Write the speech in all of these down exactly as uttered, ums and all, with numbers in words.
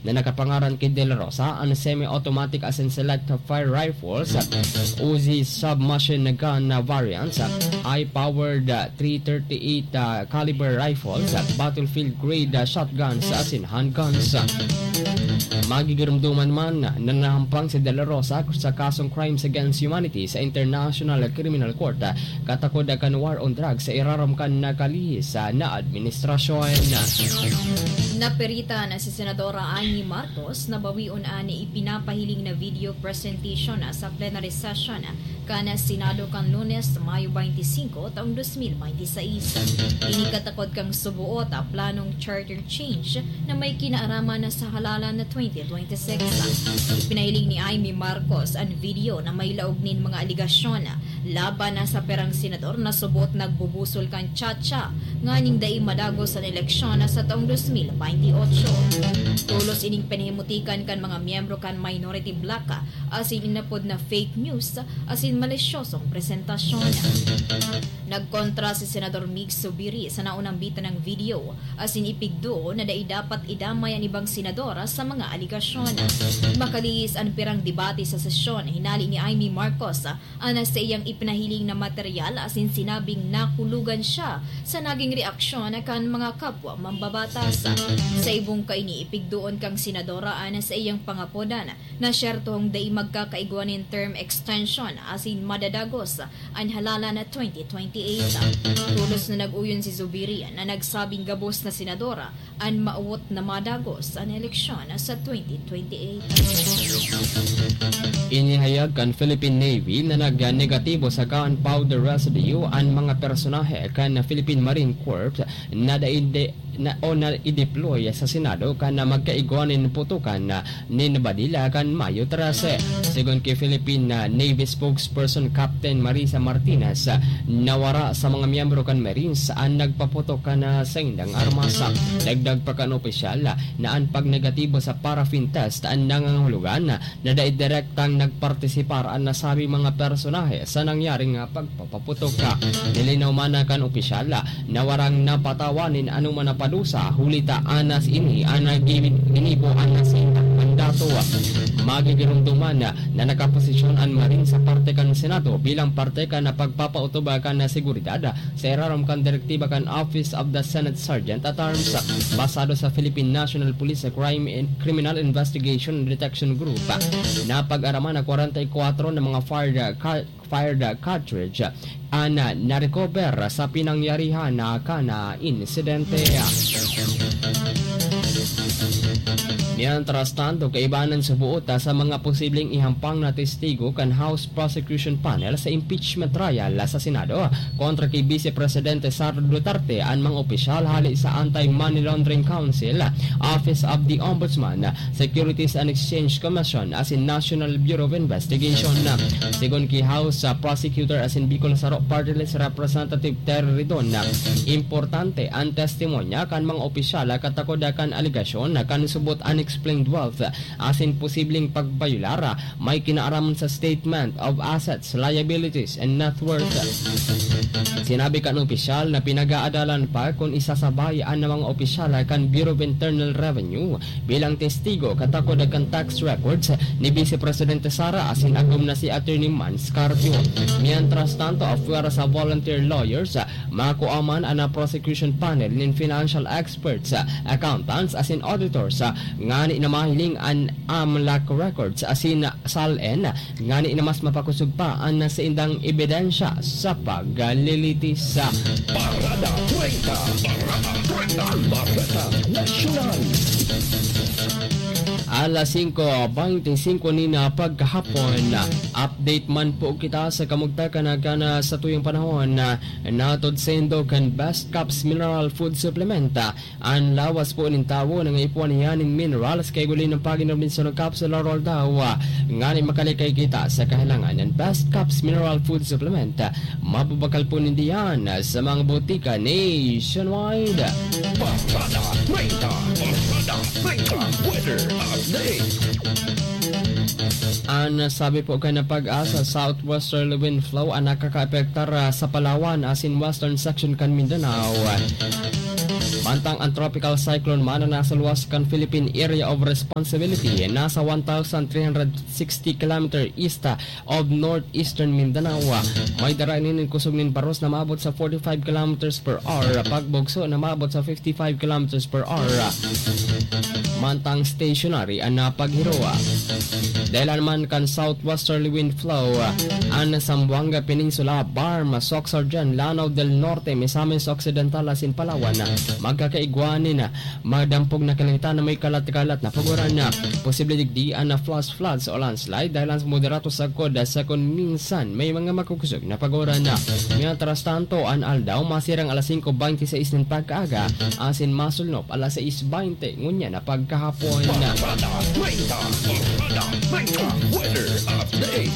na nakapangaran ki De La Rosa an semi-automatic asin select fire rifles, Uzi submachine gun variants, high-powered three thirty-eight caliber rifles, battlefield-grade shotguns asin handguns. Magigirumduman man na nahampang si De La Rosa sa kasong crimes against humanity sa International Criminal Court katakod kan war on drugs sa irarom kan nakalihis na administrasyon. Napiritan si Senadora Amy Marcos na bawion an ipinapahiling na video presentation sa plenary session kan Senado kan Lunes, Mayo twenty-five, taong twenty twenty-six. Ini katakod kan suboot a planong charter change na may kinaaraman sa halalan na twenty twenty-six. Ipinahiling ni Amy Marcos an video na may laog nin mga aligasyon laban sa pirang senador na suboot nagbubusol kan chacha nganing dai madagos an eleksyon sa taong twenty twenty-eight. Tolos ining pinahimutikan kan mga miyembro kan minority bloc asin inapod na fake news asin malisyosong presentasyon. Nagkontra si Senador Mig Zubiri sa naunang bitanang video asin ipigduo na dai dapat idamay an ibang senador sa mga aligasyon. Makalihis an pirang debate sa sesyon hinali ni Amy Marcos an saiyang ipinahiling na material asin sinabing nakulogan siya sa naging reaksyon kan mga kapwa mambabatas. Sa ibong kaini, ipigduon kan senadora an saiyang pangapodan na siyertong dai magkakaigwa nin term extension asin madadagos an halalan na twenty twenty-eight. Tolos na nag-uyon si Zubiri na nagsabing gabos na senadora an mawot na madagos an eleksyon sa twenty twenty-eight. Inihayag kan Philippine Navy na nag-negatibo sa gunpowder residue an mga personahe kan Philippine Marine Corps na dainde na, o na i-deploy sa Senado kan na magkaigwa nin putukan na nin badila kan Mayo trese. Sigon ki Philippine, ah, Navy spokesperson Captain Marisa Martinez, ah, nawara sa mga miyembro kan Marines an nagpaputok kan, ah, saindang armas. Dagdag pa kan opisyal, ah, na an pagnegatibo sa paraffin test an nangangahulugan, ah, na dai direktang nagpartisipar an nasabing mga personahe sa nangyaring, ah, pagpapaputok. Nilinaw man kan opisyal, ah, na warang napatawan nin anoman na padusa, huli ta anas ini an gini-, ginibo an nasindang mandato. Magigiromdoman na nakaposisyon an Marine sa parte kan Senado bilang parte kan pagpapautob kan seguridad sa irarom kan direktiba kan Office of the Senate Sergeant at Arms. Basado sa Philippine National Police Crime and Criminal Investigation and Detection Group, napag-araman na kwarenta y kwatro na mga fired, ah, ca-, fired cartridge an narecover sa pinangyarihan na kan insidente. Mientras tanto, kaibanan subuot sa mga posibleng ihampang na testigo kan House Prosecution Panel sa impeachment trial sa Senado kontra kay Vice Presidente Sara Duterte an mga opisyal hale sa Anti-Money Laundering Council, Office of the Ombudsman, Securities and Exchange Commission asin National Bureau of Investigation. Sigon ki House, ah, Prosecutor asin Bicol Saro Party List Representative Terry Ridon, importante an testimonya kan mga opisyal katakod kan alegasyon na kan subot unexplained wealth asin posibleng pagbayular may kinaaraman sa Statement of Assets, Liabilities, and Net Worth. Sinabi kan opisyal na pinag-aadalan pa kun isasabay an mga opisyal kan Bureau of Internal Revenue bilang testigo katakod kan tax records ni Vice Presidente Sara asin agom na si Attorney Mans Carpio. Mientras tanto, apwera sa volunteer lawyers, makua man an prosecution panel nin financial experts, accountants asin auditors ngani na mahiling an AMLAC records asin SALN ngani na mas mapakosog pa an saindang ebidensya sa paglilitis. Parada treinta. Parada treinta. Bareta Nasyonal. Alas singko beintisinko nin pagkahapon. Update man po kita sa kamugtakan na kan satuyang panahon. Natod saindo kan Best Caps Mineral Food Supplement. An lawas po nin tawo nangaipuhan niya nin minerals kay guli ng pag-inom nin sunod capsule or daw, ah, ngani makalikay kita sa kahalangan ng Best Caps Mineral Food Supplement. Mababakal po nindiyan sa mga botika nationwide. Barada treinta, Barada treinta, weather update. An sabi po kan PAGASA, southwesterly wind flow an nakakaapektar, ah, sa Palawan asin western section kan Mindanao. Mantang ang Tropical Cyclone Mana na nasa luwas kan Philippine Area of Responsibility, nasa one thousand three hundred sixty kilometer east of northeastern Mindanao. May dara nin kusog nin baros na maabot sa forty-five kilometers per hour, pagbugso na maabot sa fifty-five kilometers per hour. Mantang stationary an napaghiro. Dahilan man kan southwesterly wind flow, an Zamboanga Peninsula, Barm, Soc-Sargen, Lanao del Norte, Misamis Occidental asin Palawan, magkakaigwa nin madampog na kalangitan na may kalat-kalat na paguran. Posible digdi an flash floods o landslide dahil sa moderato sagkod sa kun minsan may mga makukusog na paguran. Mientras tanto, an aldaw masirang alas singko bente sais nin pagkaaga asin masulnop alas sais bente ngunyan na pagkahapon. Barkada Treinta, Barkada Treinta, weather update.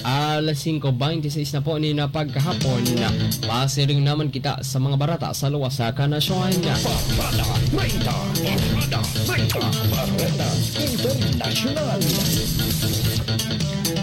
Alas singko bente sais na po nin pagkahapon. Pasiring naman kita sa mga barata sa luwas sa kanasyon. Barkada Treinta, Barkada Treinta, Barkada Internasyonal.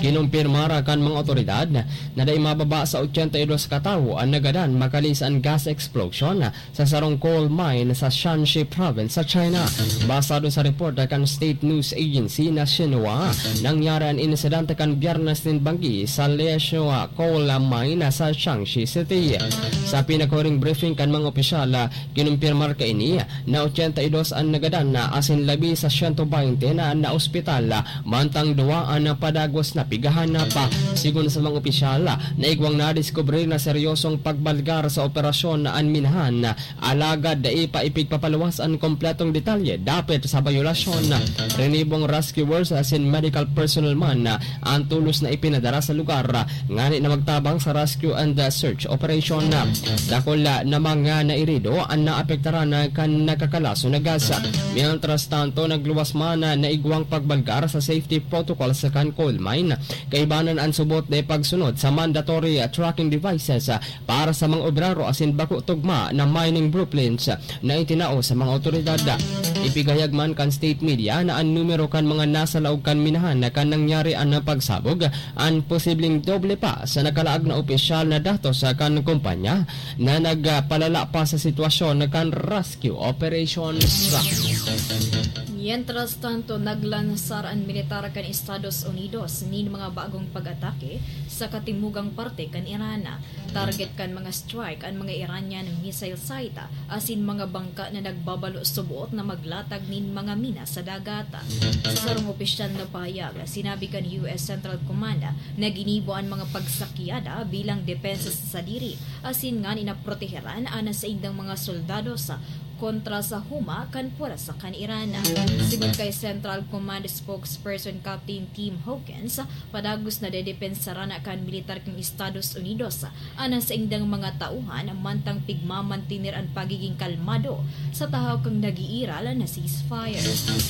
Kinumpirmara kan mga otoridad na dai mababa sa ochenta y dos ka tawo an nagadan makalis an gas explosion sa sarong coal mine sa Shanxi Province sa China. Basado sa report kan State News Agency na Xinhua, nangyari an insidente kan Biyernes nin banggi sa Lieshua Coal Mine sa Shanxi City. Sa pinakahuring briefing kan mga opisyal, kinumpirmar kaini na ochenta y dos an nagadan na asin labi sa siyento baynte na naospital, mantang duwa an padagos na pigahanap. Sigon sa mga opisyal, naigwang nadiskubre na seryosong pagbalgar sa operasyon na an minahan, alagad dai pa ipigpapaluwas an kompletong detalye dapit sa bayolasyon. Rinibong rescuers asin medical personnel man an tolos na ipinadara sa lugar ngani na magtabang sa rescue and search operation. Dakula na mga nairido an naapektaran kan nakakalason na gas. Mientras tanto, nagluwas man na naigwang pagbalgar sa safety protocols kan coal mine. Kaibanan an subot na pagsunod sa mandatory tracking devices para sa mga obrero asin bako tugma na mining blueprints na itinao sa mga otoridad. Ipigayag man kan state media na an numero kan mga nasa laog kan minahan na kan nangyari an pagsabog an posibleng doble pa sa nakalaag na opisyal na datos kan kumpanya na nagpalala pa sa sitwasyon kan rescue operations. Mientras tanto, naglansar an militar kan Estados Unidos nin mga bagong pag-atake sa katimugang parte kan Iran. Target kan mga strike an mga Iranian missile site asin mga bangka na nagbabalo subot na maglatag nin mga mina sa dagat. Sa sarong opisyal na pahayag, sinabi kan U S Central Command na ginibo an mga pagsakyada bilang depensa sa sadiri asin ngani na proteheran an saindang mga soldados kontra sa huma kan pwersa kan Iran. Sigon kay Central Command spokesperson Captain Tim Hawkins, padagos na dedepensaran kan militar kan Estados Unidos an saindang mga tauhan mantang pigmamantener an pagiging kalmado sa tahaw kan nag-iiral na ceasefire.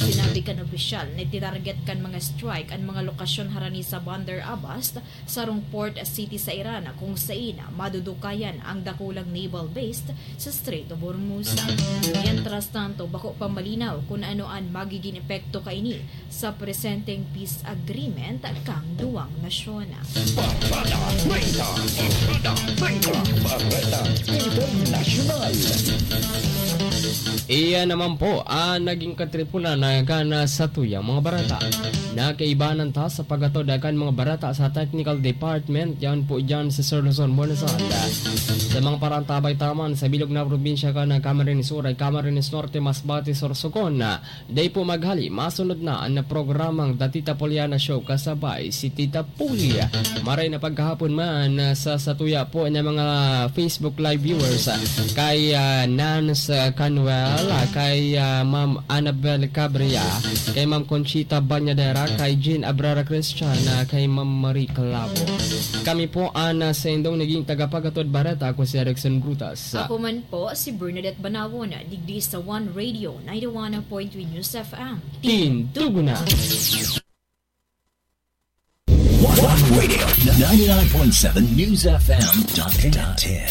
Sinabi kan opisyal na titarget kan mga strike an mga lokasyon harani sa Bandar Abbas, sarong port city sa Iran, kung saen madudukayan ang dakulang naval base sa Strait of Hormuz. Mientras tanto, bako pa malinaw kun ano an magiging epekto kaini sa presenteng peace agreement kan duwang nasyon. Barkada Treinta, Barkada Treinta, Barkada Internasyonal. Iyan naman po ang naging katripunan na gana sa tuyang mga barata. Nakaibanan ta sa paghatod kan mga barata sa technical department, yan po dyan sa Sir Luzon, Buenos Aires. Sa mga parantabay taman sa bilog na probinsya kan Camarines Sur, Camarines Norte, Masbate, Sorsogon, dai po maghali, masunod na ang programang The Tita Poliana Show kasabay si Tita Puli. Maray na pagkahapon man, ah, sa satuya po na mga Facebook Live viewers, ah, kay, ah, Nance, ah, Canuel, ah, kay, ah, Ma'am Annabel Cabria, kay Ma'am Conchita Banyadera, kay Jean Abrara Christian, ah, kay Ma'am Marie Clavo. Kami po ang, ah, saindong naging tagapaghatod bareta, ako si Erickson Brutas. Ako man po si Bernadette Banawon, digdi sa One Radio ninety-one point three News F M. Tindugo na! One Radio, ninety-nine point seven News F M, Dante.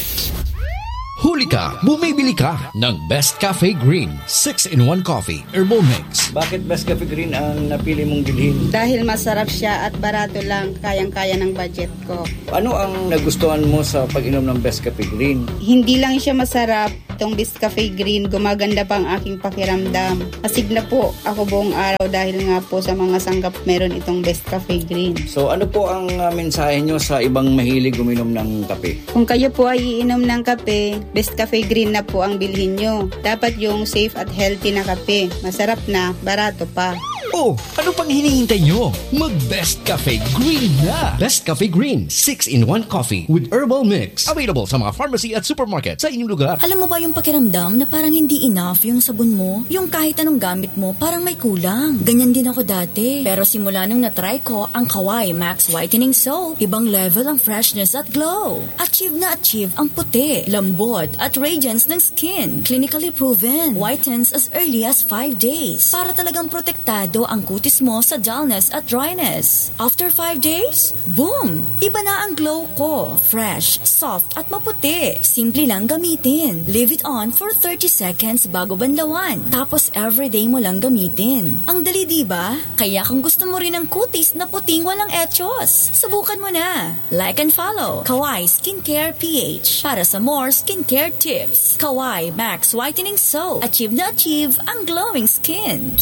Huli ka, bumibili ka ng Best Cafe Green six-in-one Coffee Herbal Mix. Bakit Best Cafe Green ang napili mong bilhin? Dahil masarap siya at barato lang, kayang-kaya ng budget ko. Ano ang nagustuhan mo sa pag-inom ng Best Cafe Green? Hindi lang siya masarap, Itong Best Cafe Green, gumaganda pa ang aking pakiramdam. Astig na po ako buong araw dahil nga po sa mga sangkap meron itong Best Cafe Green. So ano po ang uh, mensahe nyo sa ibang mahilig uminom ng kape? Kung kayo po ay iinom ng kape, Best Cafe Green na po ang bilhin nyo. Dapat yung safe at healthy na kape. Masarap na, barato pa. Oh, ano pang hinihintay nyo? Mag Best Cafe Green na! Best Cafe Green, six-in-one coffee with herbal mix. Available sa mga pharmacy at supermarket sa inyong lugar. Alam mo ba yung pakiramdam na parang hindi enough yung sabon mo? Yung kahit anong gamit mo, parang may kulang. Ganyan din ako dati. Pero simula nung na-try ko ang Kawai Max Whitening Soap, ibang level ang freshness at glow. Achieve na achieve ang puti, lambot, at radiance ng skin. Clinically proven. Whitens as early as five days. Para talagang protektado ang kutis mo sa dullness at dryness. After five days, boom! Iba na ang glow ko. Fresh, soft, at maputi. Simple lang gamitin. Leave it on for thirty seconds bago banlawan. Tapos everyday mo lang gamitin. Ang dali, di ba? Kaya kung gusto mo rin ang kutis na puting walang echos, subukan mo na. Like and follow Kawai Skincare P H para sa more skincare tips. Kawai Max Whitening Soap. Achieve na achieve ang glowing skin.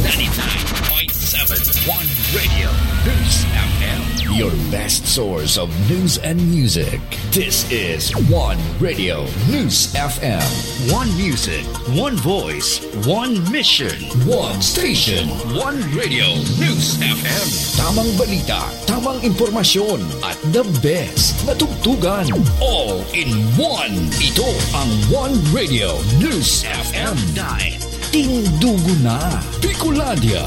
ninety-nine point seven One Radio News F M. Your best source of news and music. This is One Radio News F M. One music, one voice, one mission. One station, One Radio News F M. Tamang balita, tamang impormasyon, at the best na tugtugan. All in one. Ito ang One Radio News F M. Dahil tindugo na Bicolandia.